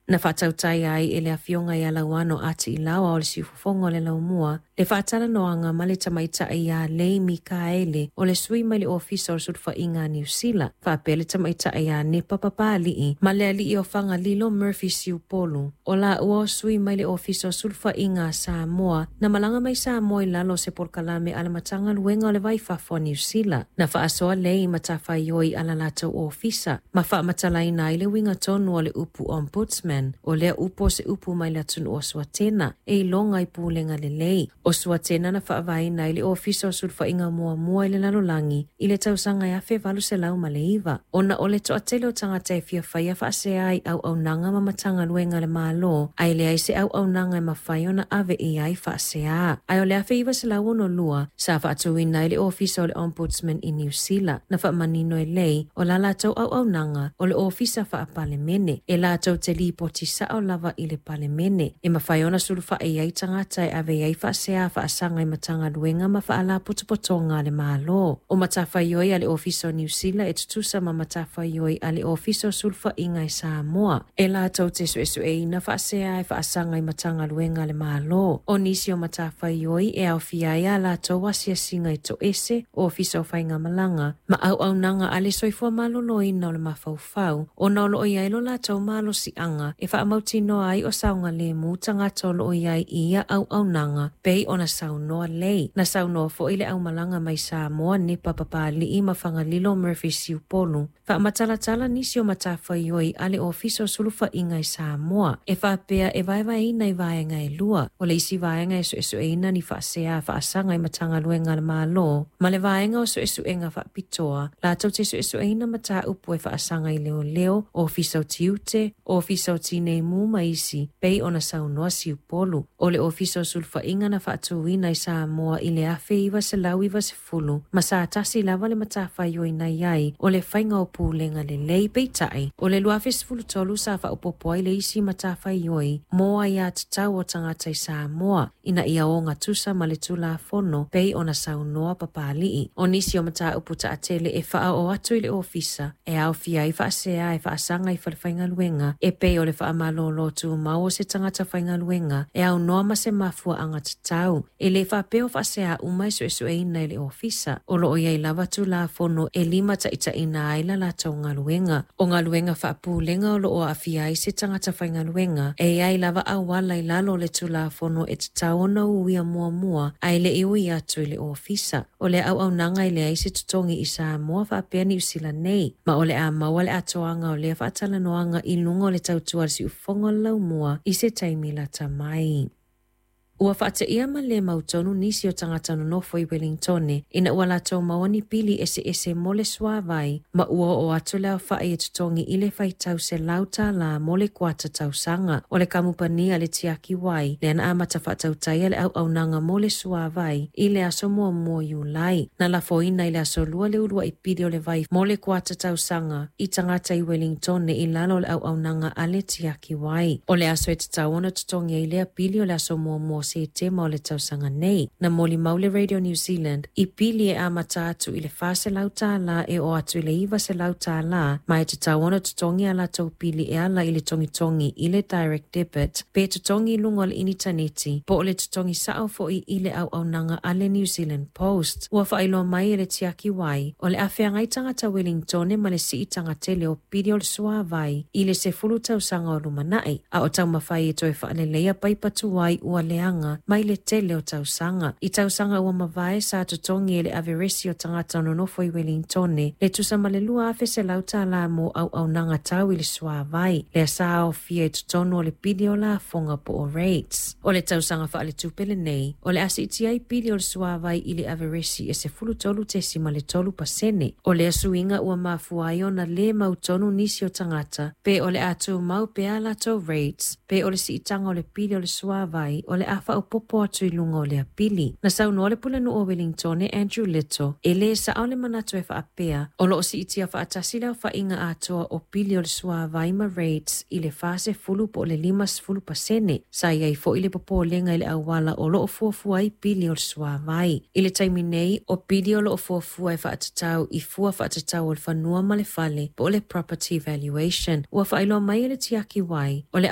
Na faatautaia ai e le Afioga ia Lauano A. Tiilao o le Siufofoga o le Laumua le faatalanoaga ma le tamaitai ia Lei Mikaele o le sui mai le Ofisa o le Sulufaiga a Niu Sila, faapea le tamaitai ia Nepa Papali'i ma le alii o Fagalilo Murphy Siupolu. O laua o sui mai le Ofisa o Sulufaiga a Samoa na malaga mai Samoa i lalo o se polokalame a le Matagaluega o le Va i Fafo a Niu Sila. Na faasoa Lei i matafaioi a la latou ofisa ma faamatalaina ai le uiga tonu o le upu Ombudsman. O lea upu o se upu mai le atunuu o Suatena e iloga i pulega lelei. O Suatena na faavaeina ai le Ofisa o Sulufaiga muamua i le lalolagi i le tausaga e 1809, ona o le toatele o tagata e fia faia faasea i auaunaga ma Matagaluega a le Malo, ae leai se auaunaga e mafai ona ave i ai faasea. Ae o le 1962 sa faatuina ai le Ofisa o le Ombudsman i Niu Sila. Na faamanino e Lei o la latou auaunaga o le Ofisa Faapalemene e latou te lipoti sao lava i le Palemene, e mafai ona sulufai ai tagata e ave i ai faasea faasaga i Matagaluega ma Faalapotopotoga a le Malo. O matafaioi a le Ofisa o Niu Sila e tutusa ma matafaioi a le Ofisa o Sulufaiga i Samoa, e latou te suesueina faasea e faasaga i Matagaluega a le Malo. O nisi o matafaioi e aofia ai a latou asiasiga i toese, Ofisa o Faigamalaga ma auaunaga a le soifua maloloina o le mafaufau, ona o loo i ai lo latou malosiaga e faamautinoa ai o saogalemu tagata o loo i ai i ia auaunaga, pei ona saunoa Lei. Na saunoa foi le aumalaga mai Samoa Nepa Papali'i ma Fagalilo Murphy Siupolu, faamatalatala nisi o matafaioi a le Ofisa o Sulufaiga i Samoa, e faapea e vaevaeina i vaega e lua. O le isi vaega e suesueina ni faasea faasaga i Matagaluega a le Malo, ma le vaega o suesuega faapitoa latou te suesueina mataupu e faasaga i leoleo, Ofisa o Tiute, Ofisa o Tinei Mu ma isi, pei ona saunoa Siupolu. O le Ofisa o Sulufaiga na faatuina i Samoa i le 1990, ma sa tasi lava le matafaioi na i ai o le faiga o pulega lelei. Peitai, o le 2013 sa faaopoopo ai le isi matafaioi mo aiatatau o tagata i Samoa ina ia ogatusa ma le Tulafono, pei ona saunoa Papali'i. O nisi o mataupu taatele e faaoo atu i le ofisa e aofia ai faasea e faasaga i falefaigaluega, e pei o le faamalōlō tumau o se tagata faigaluega e aunoa ma se mafuaaga tatau. E lē faapea o faasea uma e suesueina e le ofisa. O loo i ai lava Tulafono e limataitaiina ai la latou galuega. O galuega faapulega o loo aafia ai se tagata faigaluega, e i ai lava auala i lalo o le Tulafono e tatau ona uia muamua ae le i ui atu i le ofisa. O le auaunaga e leai se totogi i Samoa faapea Niu Sila nei, ma o le a maua le atoaga o lea faatalanoaga i luga o le tautua a le Siufofoga o le Laumua i se taimi lata mai. Ua faateia ma le mautonu nisi o tagata nonofo i Welingtone ina ua latou maua ni pili eseese mo le suāvai, ma ua oo atu le aofa'i e totogi i le faitau $100 mo le kuata tausaga. O le kamupani a le Tiaki Wai lea na amata faatautaia le auaunaga mo le suāvai i le aso 1 o Iulai. Na lafoina i le aso 2 le uluai pili o le vai mo le kuata tausaga i tagata i Welingtone i lalo o le auaunaga a le Tiaki Wai. O le aso e tatau ona totogi ai lea pili o le aso 1 o Setema o le tausaga nei. Na molimau le Radio New Zealand i pili e amata atu i le $400 e oo atu i le $900, ma e tatau ona totogi a latou pili e ala i le togitogi i le direct debit, pe totogi i luga o le initaneti, po o le totogi sao foi i le auaunaga a le New Zealand Post. Ua faailoa mai e le Tiaki Wai o le a feagai tagata Welingtone ma le siitaga tele o pili o le suāvai i le 10 tausaga o lumanai, a o taumafai e toe faaleleia paipa tuai ua leaga mai le tele o tausaga. I tausaga ua mavae sa totogi e le averesi o tagata nonofo i Welingtone le tusa ma le $2,100 mo auaunaga tau i le suāvai, lea sa aofia i totonu o le pili o lafoga po o rates. O le tausaga faaletupe lenei, o le a siitia ai pili o le suāvai i le averesi e 13.3%. O lea suiga ua mafua ai ona lē mautonu nisi o tagata pe o le a tumau pea latou rates, pe o le siitaga o le pili o le suāvai o le a faaopoopo atu i luga o lea pili. Na saunoa le pulenuu o Wellingtone Andrew Little, e lē sao le manatu e faapea o loo siitia faatasi le aofaiga atoa o pili o le suāvai ma rates i le 40 po o le 50%. Sa i ai foi le popolega i le auala o loo fuafua ai pili o le suāvai. I le taimi nei, o pili o loo fuafua e faatatau i fua faatatau o le fanua ma le fale po o le property valuation. Ua faailoa mai e le Tiaki Wai o le